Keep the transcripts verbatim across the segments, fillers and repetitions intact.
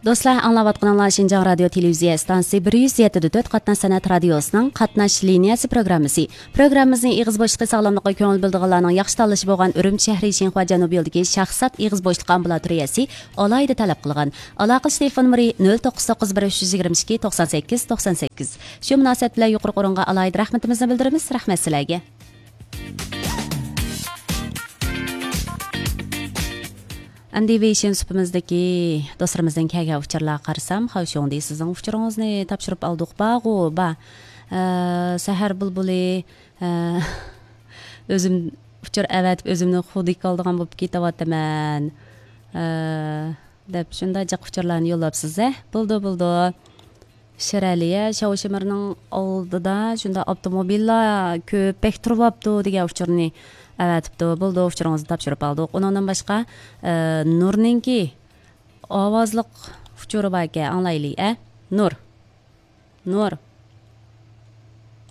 دوستلار، ئاڭلاۋاتقىنىڭلار شىنجاڭ رادىيو تېلېۋىزىيە ئىستانسىسى بىر يۈز يەتتە دە تۆت قاتناش سەنئەت رادىيوسىنىڭ قاتناش لىنىيەسى پروگراممىسى. پروگراممىمىزنى ئېغىز بوشلۇقى ساغلاملىقىغا كۆڭۈل بۆلىدىغانلارنىڭ ياخشى تاللىشى بولغان ئۈرۈمچى شەھىرى شىنخۇا جەنۇبىي يولىدىكى شاھزات ئېغىز بوشلۇقى ئامبۇلاتورىيەسى ئالاھىدە تەلەپ قىلغان. ئالاقىلىشىش تېلېفون نومۇرى نۆل توققۇز توققۇز بىر ئۈچ يۈز يىگىرمە ئىككى توقسان سەككىز توقسان سەككىز. شۇ مۇناسىۋەت بىلەن يۇقىرىقى ئورۇنغا ئالاھىدە رەھمىتىمىزنى بىلدۈرىمىز. رەھمەت سىلەرگە. ئەمدى ۋېيشىن سۇپىمىزدىكى دوستلىرىمىزدىن كەلگەن ئۇچۇرلارغا قارىسام، خاۋشۇڭدى سىزنىڭ ئۇچۇرىڭىزنى تاپشۇرۇپ ئالدۇق، بارغۇ، بار. ئە، سەھەر بۇلبۇلى، ئە، ئۆزۈم ئۇچۇر ئەۋەتىپ ئۆزۈمنى خۇدىكى ئالىدىغان بولۇپ كېتىۋاتىمەن، ئە، دەپ شۇنداق جىق ئۇچۇرلارنى يوللاپسىز، ھە؟ بولىدۇ، بولىدۇ. شىرئەلىيە شاۋشىمىرنىڭ ئالدىدا شۇنداق ئاپتوموبىللار كۆپ، بەك تۇرۇۋاپتۇ دېگەن ئۇچۇرنى ئەۋەتىپتۇ. بولىدۇ، ئۇچۇرىڭىزنى تاپشۇرۇپ ئالدۇق. ئۇنىڭدىن باشقا، ئە، نۇرنىڭكى ئاۋازلىق ئۇچۇرى باركەن، ئاڭلايلى، ئە؟ نۇر. نۇر.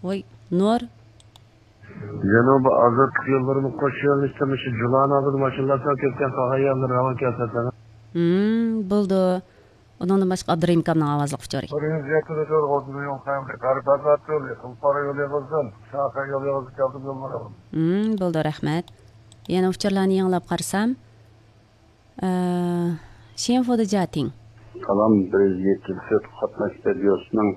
ۋوي، نۇر. جەنۇبىي ئازادلىق يوللىرىنىڭ قوش يۆنىلىشىدە مۇشۇ جۇلان ئالدىدا ماشىنىلار سەل كۆپكەن، قالغان يەرلىرى راۋان كەلسە. ھىم، بولىدۇ. ئۇنىڭدىن باشقا ئابدۇرېھىم ئاكامنىڭ ئاۋازلىق ئۇچۇرى. بىر يۈز يەتتە تۆت ئوتتۇز يول سەۋەبى غەرب ئازاد يولى، خۇلپارا يولى ئېغىزدىن، شاخە يولى ئېغىزى كەلدىم يوللىرىغا. ھىم، بولىدۇ، رەھمەت. يەنە ئۇچۇرلارنى يېڭىلاپ قارىسام، ئە، شيەنفۇدە جاتىڭ. سالام، بىر يۈز يەتتە تۆت قاتناش رادىيوسىنىڭ،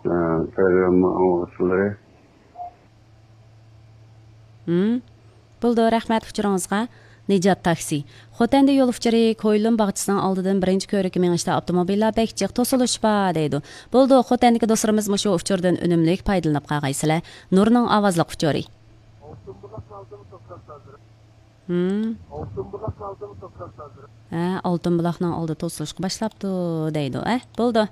ئە، پروگرامما ئاڭلىغۇچىلىرى. ھىم. بولىدۇ، رەھمەت ئۇچۇرىڭىزغا. نىجات تاكسى. خوتەندە يول ئۇچۇرى، كويلۇن باغچىسىنىڭ ئالدىدىن بىرىنچى كۆۋرۈككە مېڭىشتا ئاپتوموبىللار بەك جىق توسۇلۇش بار، دەيدۇ. بولىدۇ، خوتەندىكى دوستلىرىمىز مۇشۇ ئۇچۇردىن ئۈنۈملۈك پايدىلىنىپ قالغايسىلەر. نۇرنىڭ ئاۋازلىق ئۇچۇرى. ھىم. ھە، ئالتۇن بۇلاقنىڭ ئالدى توسۇلۇشقا باشلاپتۇ، دەيدۇ. ئە، بولىدۇ.